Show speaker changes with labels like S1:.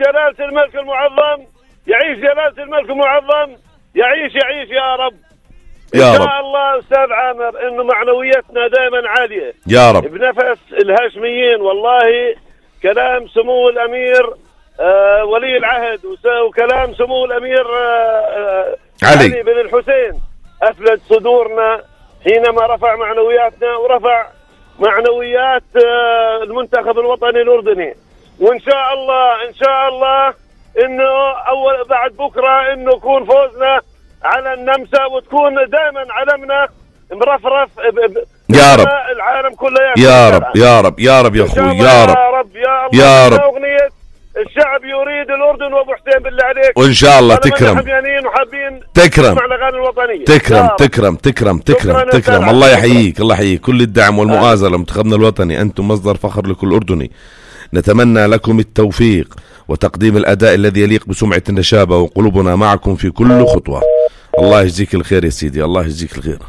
S1: جلالة الملك المعظم، يعيش جلالة الملك المعظم، يعيش يا رب. إن شاء الله أستاذ عامر إنه معنويتنا دائما عالية
S2: يا رب
S1: بنفس الهاشميين. والله كلام سمو الأمير ولي العهد وكلام سمو الأمير علي بن الحسين أفلت صدورنا حينما رفع معنوياتنا ورفع معنويات المنتخب الوطني الأردني. وإن شاء الله إنه بعد بكرة إنه يكون فوزنا على النمسا وتكون دائما علمنا مرفرف
S2: يا رب
S1: العالم كله.
S2: يا رب يا أخوي، يا رب
S1: يا رب. أغنية الشعب يريد الأردن وأبو حسين بالله عليك،
S2: وإن شاء الله تكرم
S1: وحابين
S2: تكرم
S1: الأغاني الوطنية.
S2: تكرم. الله يحييك، الله يحييك. كل الدعم والمؤازرة لمنتخبنا الوطني، أنتم مصدر فخر لكل أردني. نتمنى لكم التوفيق وتقديم الأداء الذي يليق بسمعة النشابة، وقلوبنا معكم في كل خطوة. الله يجزيك الخير يا سيدي، الله يجزيك الخير.